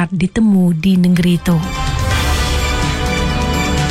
balat ditemu di nengeri tu.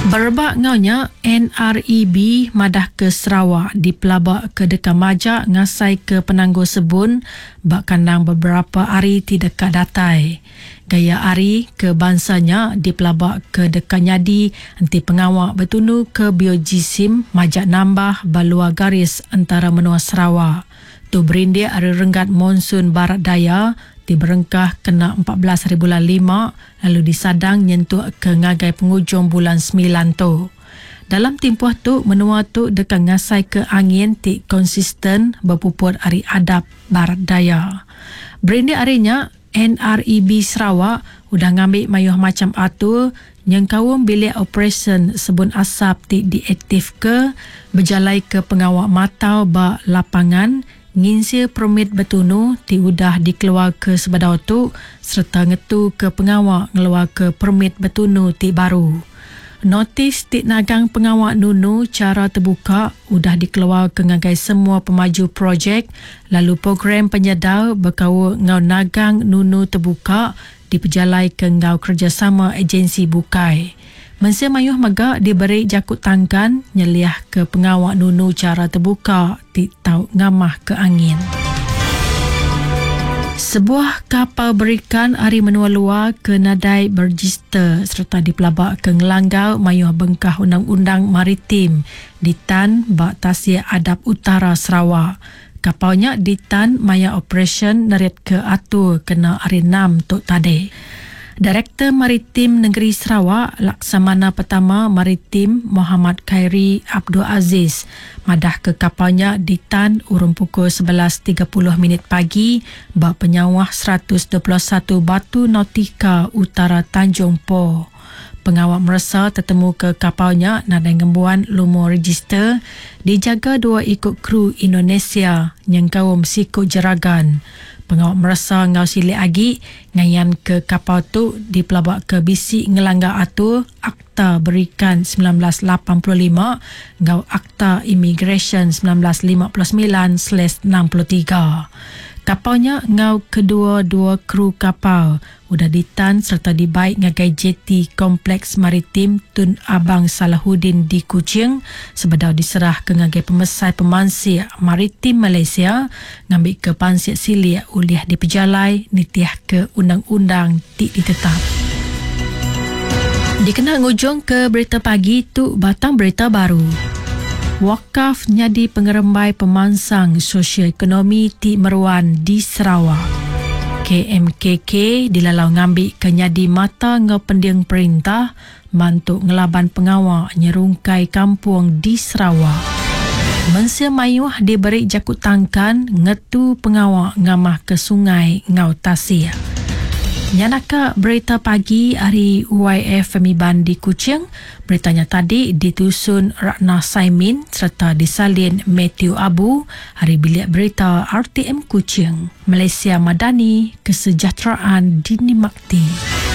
Berebak enggau nya, NREB madahka Sarawak dipelabaka deka majak ngasaika penanggul sebun ba kandang beberapa hari ti deka datai. Gaya hari ke bansa nya dipelabaka deka nyadi enti pengawa betunuka biojisim majak nambah ba luar garis entara menua Sarawak. Tu berindik ari renggat monsun barat daya ti berengkah kena 14 haribulan Lima lalu disadang nyentuk ke ngagai pengujung bulan Semilan tu. Dalam timpuh tu menua tu deka ngasaika angin ti konsisten bepuput ari adap barat daya. Berindik ari nya, NREB Sarawak udah ngambi mayuh macham atur nyengkaum bilik operasyen sebun asap ti diaktifka, bejalaika pengawa matau ba lapangan, nginsil permit betunu ti udah dikeluarka sebedau tu sereta ngetuka pengawa ngeluarka permit betunu ti baru. Notis ti nagang pengawa nunu chara tebuka udah dikeluarka ngagai semua pemaju projek lalu program penyedar bekaul enggau nagang nunu tebuka dipejalaika enggau kerejasama ejensi bukai. Mensia mayuh mega diberi jaku tangkan nyeliahka pengawa nunu chara tebuka ti tau ngamahka angin. Sebuah kapal berikan ari menua luar ke nadai berejister sereta dipelabaka ngelanggar mayuh bengkah undang-undang maritim ditan ba Tasik Adap Utara Sarawak. Kapal nya ditan maya operasyen neritka atur kena Hari Enam tu tadi. Direktor Maritim Nengeri Sarawak, Laksamana Pertama Maritim Mohamad Khairi Abdul Aziz madahka kapal nya ditan urung pukul 11 30 minit pagi ba penyauh 121 batu nautika utara Tanjung Po. Pengawa meresa tetemuka kapal nya nadai ngembuan lumur rejister dijaga dua iku kru Indonesia nyengkaum siku jeragan. Pengawa meresa enggau silik agi ngayanka kapal tu dipelabaka bisi ngelanggar atur Akta Berikan 1985 enggau Akta Imigresen 1959/63. Kapal nya enggau kedua-dua kru kapal udah ditan sereta dibai ngagai jeti Kompleks Maritim Tun Abang Salahuddin di Kuching sebedau diserahka ngagai Pemesai Pemansik Maritim Malaysia ngambika pansik silik ulih dipejalai nitihka undang-undang ti ditetap. Dikena ngujungka berita pagi tu batang berita baru. Wakaf nyadi pengerembai pemansang sosioekonomi ti meruan di Sarawak. KMKK dilalau ngambika nyadi mata enggau pending perintah mantu ngelaban pengawa nyerungkai kampung di Sarawak. Mensia mayuh diberi jaku tangkan ngetu pengawa ngamahka sungai enggau tasik. Nya naka berita pagi ari YFM Iban di Kuching. Berita nya tadi ditusun Ratna Saimin sereta disalin Mathew Abu ari Bilik Berita RTM Kuching. Malaysia Madani, Kesejahteraan Dinikmati.